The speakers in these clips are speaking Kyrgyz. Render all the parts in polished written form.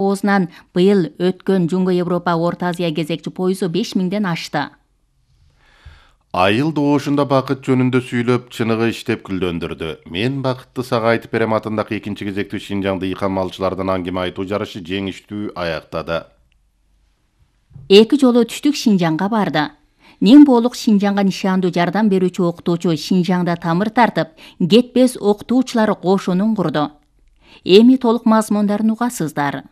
Оозунан быйыл өткөн Жунго Европа Орто Азия кезекчи пойызу 5000ден ашты. Айыл доошунда бакыт жөнүндө сүйлөп, чыныгы иштеп күлдөндүрдү. Мен бакытты сага айтып берем атындагы экинчи кезектүү Шинжаңды ыйкан малчылардан аңгеме айтуу жарышы жеңиштүү аяктады. 2 жолу түштүк Шинжаңга барды. Нимболук Шинжаңга нишандуу жардам берүүчү окутуучу Шинжаңда тамыр тартып, кетпес окутуучулар кошунун курду. Эми толук мазмундарын угасыздар.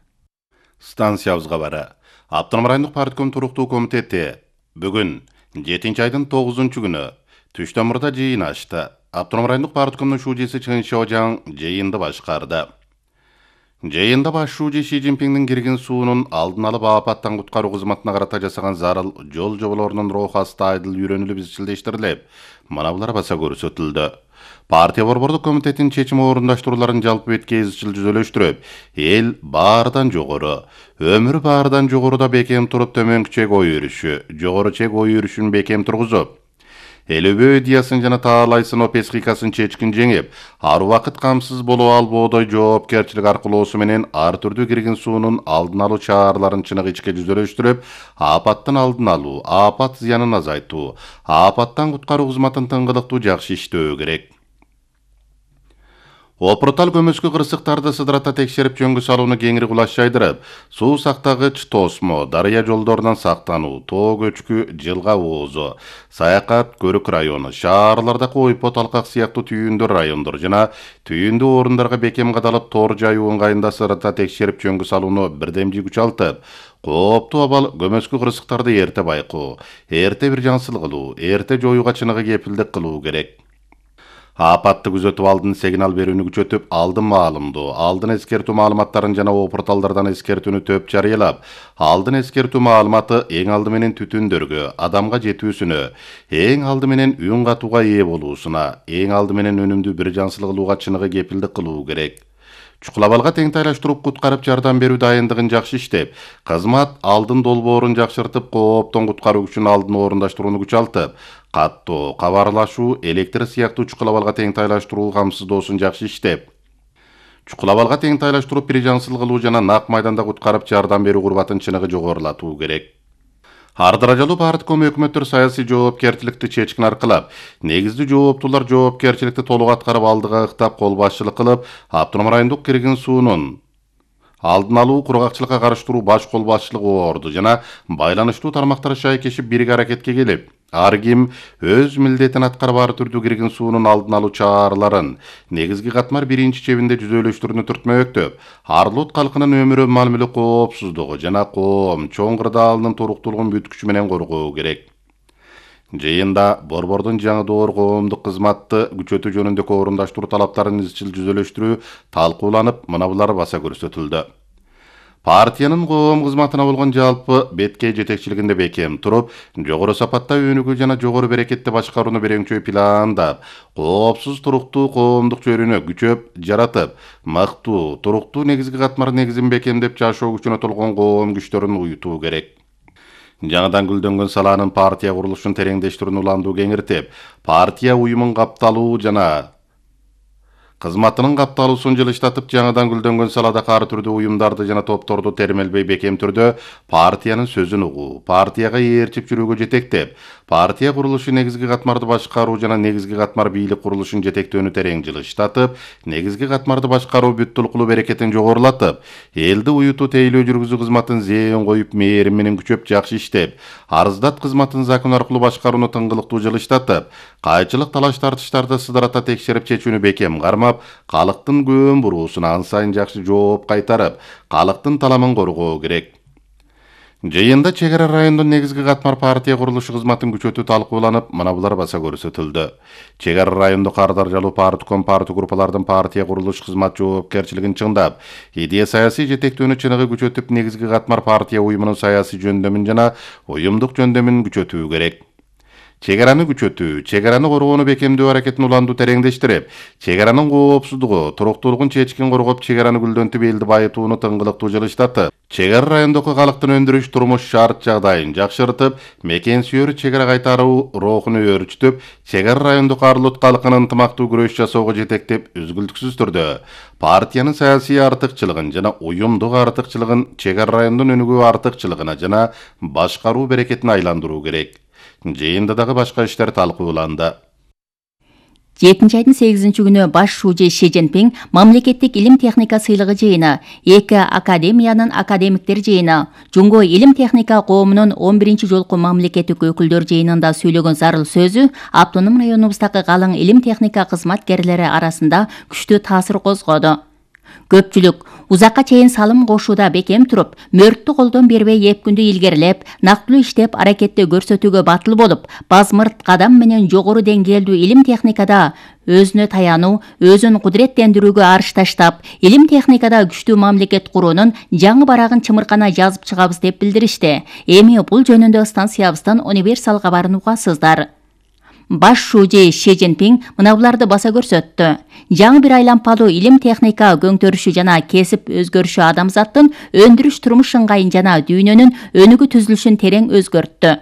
Станциябызга бара. Автоном райондук партком туруктуу комитети бүгүн 7-айдын 9-күнү Түштөмүрдө жыйын ачты. Автоном райондук парткомдун шужеси Чын Шожаң жыйынды башкарды. Жыйында баш шуже Ши Цзиньпиңдин кирген суунун алдын алып апаттан куткаруу кызматына карата жасаган зарыл жол жоболорунун роохасы айдыл үйрөнүлүп изчилдештирилип, мына булар баса көрсөтүлдү. Партия борбордук комитетинин чечим орундаштырууларын жалпы бетке изчил жүзөлөштүрүп, эл баардан жогору, өмүр баардан жогоруда бекем туруп төмөнкү чек ой өрүшү, жогору чек ой өрүшүн бекем тургузуп, элөбөө идеясын жана таалайсын опескикасын чечкин жеңип, ар убакыт камсыз болуп албоодой жоопкерчилик аркылоосу менен ар түрдүү кирген суунун алдын алуу чараларын чыныгы ичке жүзөлөштүрүп, апаттын алдын алуу, апат зыянын азайтуу, апаттан куткаруу кызматын тыңгылыктуу жакшы иштөө керек. Опуртал көмөскө кырсыктарды сыдырата текшерип жөнгө салууну кеңири кулаш жайдырып, суу сактагыч тосмо, дарыя жолдорунан сактануу, тоо көчкү, жылга оозу, Саякат, Көрүк району, шаарлардагы Ойпот, Алкак сыяктуу түйүндүү райондор жана түйүндүү орундарга бекем кадалып тоор жайуу ыңгайында сыдырата текшерип жөнгө салууну бирдемдүү күчалтып, кооптуу абал көмөскө кырсыктарды эрте байкоо, эрте бир жансыл кылуу, эрте жоюуга чыныгы кепилдик кылуу керек. Апатты күзөтүп алдын сигнал берүүнү күчөтүп, алдын маалымдоо, алдын эскертүү маалыматтарын жана опурталдардан эскертүүнү төп жарыялап, алдын эскертүү маалыматы эң алды менен түтүндөргө, адамга жетүүсүнө, эң алды менен үн катууга ээ болуусуна, эң алды менен өнүмдүү бир жансыл кылууга чыныгы кепилдик кылуу керек. Чукулабалга тең тайлаштырып куткарып жардам берүү дайындыгын жакшы иштеп, кызмат алдын долбоорун жакшыртып, кооптон куткаруу үчүн алдын орундаштырууну күчалтып, каттоо, кабарлашуу, электр сыяктуу чукулабалга тең тайлаштыруу камсыздоосун жакшы иштеп, чукулабалга тең тайлаштыруу бир жансыл кылуу жана нак майданда куткарып жардам берүү курбатын чыныгы жогорулатуу керек. Ар даражалуу партком өкмөттөр саясий жоопкерчиликти чечкин аркылап, негиздүү жооптуулар жоопкерчиликти толук аткарып алдыга ыктап кол башчылык кылып, автоном райондук кирген суунун алдын алуу, кургакчылыкка каршы баш кол башчылык орду жана байланыштуу тармактар шайкешип бирге аракетке келип, ар ким өз милдетин аткарып ар түрдүү кирген суунун алдын алуу чараларын негизги катмар биринчи чебинде жүзөлөштүрүүнү түртмөктөп, Арлут калкынын өмүрү, мал мүлк коопсуздугу жана коом чоң кырдаалынын туруктуулугун бүткүчү менен коргоо керек. Жыйында борбордун жаңы доор коомдук кызматты күчөтүү жөнүндөгү орундаштыруу талаптарын изчил жүзөлөштүрүү талкууланып, мына булар баса көрсөтүлдү. Партиянын коом кызматына болгон жалпы бетке жетекчилигинде бекем туруп, жогору сапатта өнүгүү жана жогору берекетти башкарууну береңчөй пландап, коопсуз туруктуу коомдук чөйрөнү күчөп жаратып, мыктуу, туруктуу негизги катмар негизин бекемдеп жашоо күчүнө толгон коом күчтөрүн уютуу керек. Жаңыдан гүлдөнгөн салаанын партия курулушун тереңдештирүүнү уландуу кеңиртип, партия уюмун капталуу жана кызматынын капталуусун жылыштатып, жаңыдан гүлдөнгөн саладагы ар түрдүү уюмдарды жана топторду термелбей бекем түрдө партиянын сөзүн угуу, партияга ээрчип жүрүүгө жетектеп, партия курулушу негизги катмарды башкаруу жана негизги катмар бийлик курулушун жетектөөнү терең жылыштатып, негизги катмарды башкаруу бүт-түлкулуу берекетин жогорулатып, элди уютуу тейлөө жүргүзүү кызматын зээн коюп, мээрим менен күчөп жакшы иштеп, арыздат кызматын закон аркылуу башкарууну тыңгылыктуу жылыштатып, кайчылык талаш тартыштарды сыдырата текшерип чечүүнү бекем кармап, калктын көөн буруусуна ан сайын жакшы жооп кайтарып, калктын таламын коргоо керек. Жыйында чек ара райондун негизги катмар партия курулушу кызматын күчөтүү талкууланып, мына булар баса көрсөтүлдү. Чек ара райондук ар даражалуу партком парты группалардын партия курулуш кызмат жоопкерчилигин чыңдап, идея саясий жетектөөнү чыныгы күчөтүп, негизги катмар партия уюмунун саясий жөндөмүн жана уюмдук жөндөмүн күчөтүү керек. Чек араны күчөтүү, чек араны коргоону бекемдөө аракетин уландуу тереңдештирип, чек аранын коопсуздугу, туруктуулугун чечкин коргоп, чек араны гүлдөнтүп элди байытууну тыңгылыктуу жылыштатып, Чек ара райондогу калктын өндүрүш турмуш шарт жагдайын жакшыртып, мекен сүйөр чек ара кайтаруу рухуну өөрчүтүп, чек ара райондук Арлут калкынын ынтымактуу күрөш жасоого жетектеп, үзгүлтүксүз түрдө партиянын саясий артыкчылыгын жана уюмдук артыкчылыгын чек ара райондун өнүгүү артыкчылыгына жана башкаруу берекетине айландыруу керек. Жыйында дагы башка иштер талкууланды. 7 айдын 8 күнү баш шужи Ши Цзиньпин мамлекеттик илим техника сыйлыгы жыйыны, 2 академиянын академиктер жыйыны, Жунго илим техника коомунун 11 жолку мамлекеттик өкүлдөр жыйынында сүйлөгөн зарыл сөзү автоном районубуздагы калың илим техника кызматкерлери арасында күчтүү таасир козгоду. Көпчүлүк узакка чейин салым кошууда бекем туруп, мөрттү колдон бербей эпкүндү илгерилеп, нактылуу иштеп аракетти көрсөтүүгө батыл болуп, базмырт кадам менен жогору деңгээлдүү илим техникада өзүнө таянуу, өзүн кудуреттендирүүгө арыш таштап, илим техникада күчтүү мамлекет куруунун жаңы барагын чымыркана жазып чыгабыз деп билдиришти. Эми бул жөнүндө станциябыздан универсал кабарын угасыздар. Баш шужи Ши Цзиньпин мына буларды баса көрсөттү. Жаңы бир айлампалуу илим техника көңтөрүшү жана кесип өзгөрүшү адамзаттын өндүрүш турмуш ыңгайын жана дүйнөнүн өнүгүү түзүлүшүн терең өзгөрттү.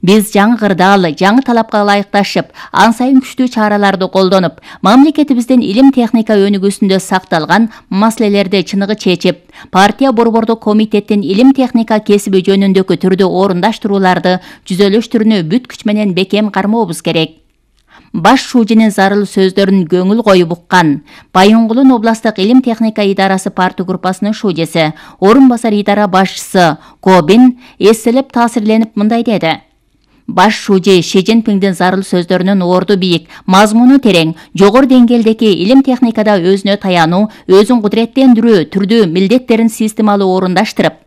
Биз жаңы кырдаал, жаңы талапка ылайыкташып, ан сайын күчтүү чараларды колдонуп, мамлекетибиздин илим техника өнүгүүсүндө сакталган маселелерди чыныгы чечип, партия борбордук комитеттин илим техника кесиби жөнүндөгү түрдүү орундаштырууларды жүзөлөштүрүүнү бүт күч менен бекем кармообуз керек. Баш шужинин зарыл сөздөрүн көңүл коюп уккан Байонгулун областтык илим техника идарасы парты группасынын шужеси, орун басар идара башчысы Кобин эстелеп таасирленип мындай деди. Баш шужи Ши Цзиньпиндин зарыл сөздөрүнүн орду бийик, мазмуну терең, жогору деңгээлдеги илим техникада өзүнө таянуу, өзүн кудуреттендирүү түрдүү милдеттерин системалуу орундаштырып,